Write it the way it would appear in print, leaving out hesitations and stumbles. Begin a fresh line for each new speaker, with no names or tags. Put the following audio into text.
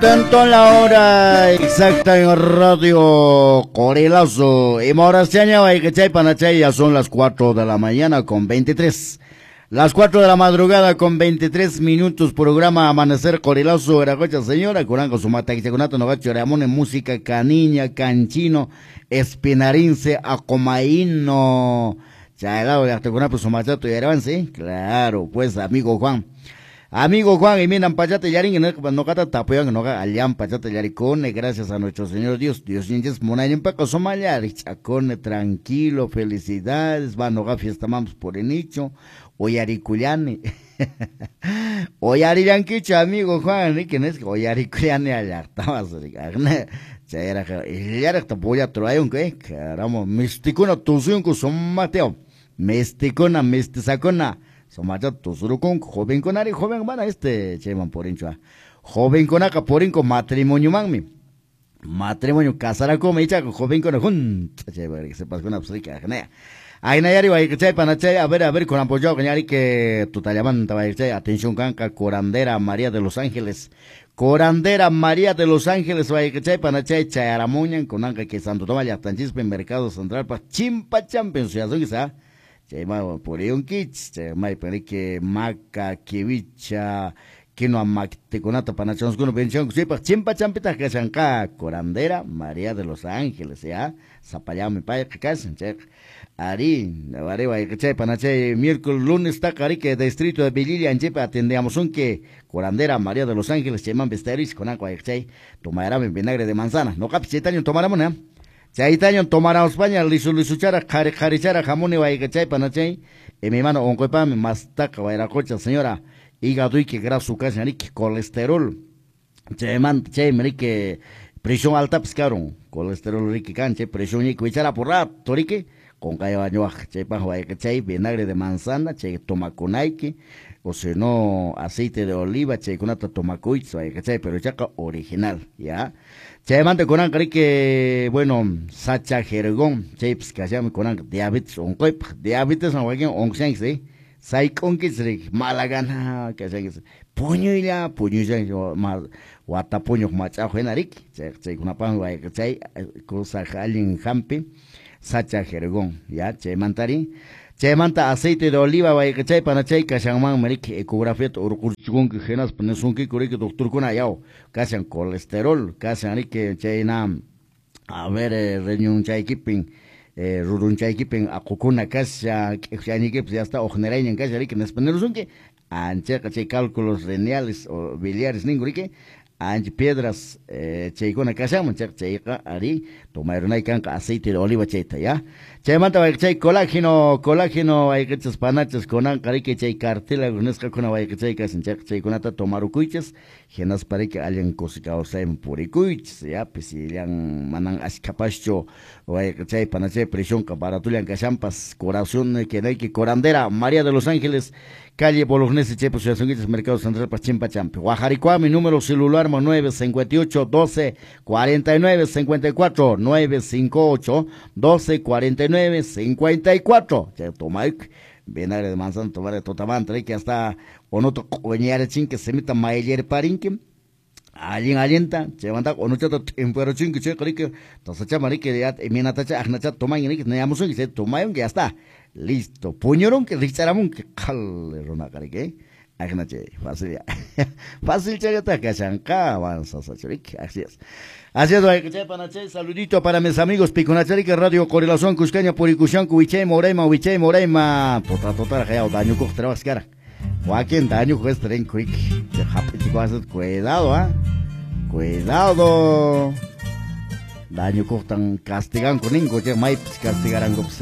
Tanto la hora exacta en Radio Corelazo. Y ya son las 4 de la mañana con 23. Las 4 de la madrugada con 23 minutos, programa Amanecer Corelazo, Veracocha, señora, Curango, Sumata, Quichacunato, Nogacho, Ramone, música, Caniña, Canchino, Espinarince, Acomaíno, Chaylao, Yactecunapo, Sumachato y Aravance, claro, pues, amigo Juan. Amigo Juan, y miran pachata yarin, no tapuyan, no allan pachata yaricone, gracias a nuestro Señor Dios, Dios ninjas munayin paco somalia, chacone, tranquilo, felicidades, va no fiesta mamos por el nicho, oyariculiane, oyarilanquicho, amigo Juan, ¿quién es? Oyariculiane allá, estabas, chayraj, voy a traer un que, caramba, misticuna, tusiunco, son Mateo, misticuna, mistisacuna. Somacha tusurukun joven conari joven van a este cheman porincho joven conaca porinco matrimonio manmi matrimonio casaraco me icha joven con jun che se pasó una psica genia ay nayari vai che panachay a ver con apoyo que que tutallamanta vai che atención canca curandera María de los Ángeles curandera María de los Ángeles vai che panachay chayaramuñan con anca que Santo Tomás ya tanchispe mercado central pa chimpa champion se Chayma puriyunkichis, chay maypin maca, kiwicha, quinoa mactikunata panachonskuna pensionku chaypaq chimpa champitaq kashanqa curandera María de los Ángeles, ya, sapallami payqa kashan chayqa ari, ari wayqa panachay miércoles lunes taqa ari que distrito de Villilla anchaypi atendíamos que curandera María de los Ángeles chayman vestaris kunanqa wayqa chay tomarami vinagre de manzana, noqapis chaytaño tomaramuna. Chaytaño tomaramos paña lisu lisuchara qhari qharichara jamuni wayqachay panachay y mi mano onquypami mastaqa wayraqucha señora hígado que graso kashan riki colesterol chaymanta chaymi riki presión altapis karun colesterol riki kan chay presión ñiki wichara por rato riki qunqaywañuwaq chaypaq wayqachay vinagre de manzana chay tomakunayki o si no aceite de oliva chaykunata tomakuychis wayqachay pero chaqa original ya. Chaymanta kunanqa riki bueno sacha jergón chaypis kashami kunanqa diabetes unquypaq diabetes wakin unqushanchis sayk'unkichis riki mala gana kashanchis puñuylla puñushanchis wata puñuq mach'aqu hina riki chaykunapaqmi wayqa chay cosa allin hampi sacha jergón ya chaymantari chaymanta aceite de oliva wayqa chay panachay kashanmanmi riki ecografiata urqurchikunki hinaspa nisunkiku riki doctorkuna yaw kashan colesterol kashan riki chayna a ver riñonchaykipin rurunchaykipin aqukuna kashan k'ikchayniykipis ya está uqnirayñan kashan riki nispa nirusunki anchayqa chay cálculos renales o biliares ninku riki ancha piedras chaykuna kashanman chayqa chayqa ari tomayrunay kanqa aceite de oliva chayta ya chaymanta wayqachay colágeno colágeno wayqachas panachas kunanqa riki chay cartílago nisqakuna wayqachay kashan chayqa chaykunata tomarukuychis hinaspa riki allin kusi kawsayman purikuychis ya pisillan manan ashkhapaschu wayqachay panachay presionqa baratullan kashanpas curación que curandera María de los Ángeles calle Bolognese chaypa suyasunkichis Mercado Central pa Chimpa Champi Guajaricua mi número celular 958 12 49 54 958 12 49 54 chay tomayk vinagre de manzana tomar totamanta que hasta onoto q'uñarichinki simita mayllarparinki allin allinta chaymanta onuchata t'impuerochinki chayqa riki tasachama riki ya imaynatacha aqnachata tomanki riki niyamusunki chay tomayunki ya está listo puñurunki rikch'aramunki qhali runaqa riki aqnachay fácil ya fácil chayllata kashanqa avanzasachu riki así es. Así es, wayqichay panachay, saludito para mis amigos Picunacharika, Radio Correlación Cuscaña, Purikushanku, Wichay Moraima, Wichay Moraima, tota tota yaw dañukuq trabas kara. Wakin dañukuq es tren quick. Cuidado, ah. Cuidado. Dañukuqtan castiganku ninku, chay maypis castigaranku pues.